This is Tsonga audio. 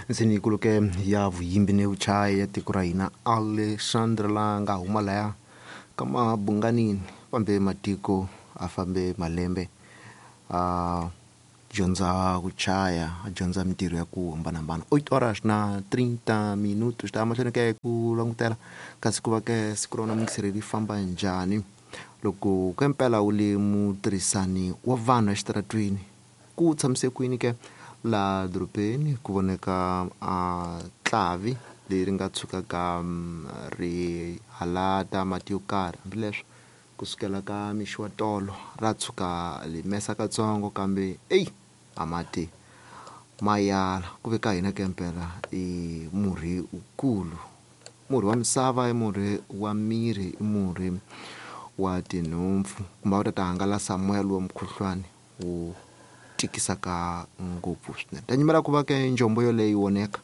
Nsini kuluke ya vuyimbi ni vuchayi ya tiko ra hina Alexandra la nga huma laya ka mabunganini fambe matiko a fambe malembe a dyondza ku chaya a dyondza mintirho ya ku hambanahambana. 8 horas na 30 minutos ta mahlweni ke ku langutela kasi ku va ke siku ra wena muyingiseri ri famba njhani loko ke mpela wu le mutirhisani wa vanhu exitaratweni ku tshamise kwini ke laha dorobeni ku voneka a tlavi leri nga tshukaka ri halata mati yo karhi hambileswo kusukela ka mixo wa tolo ra tshuka limesa katsongo kambe eyi a mati ma yala ku ve ka hina ke mpela i murhi wukulu murhi wa misava i murhi wa miri i murhi wa tinhompfu kumbe a wu ta ta hangalasa moya lowa mukhuhlwani wu tikisaka ngopfu swinene ta nyimela ku va ke njombo yoleyo yi voneka.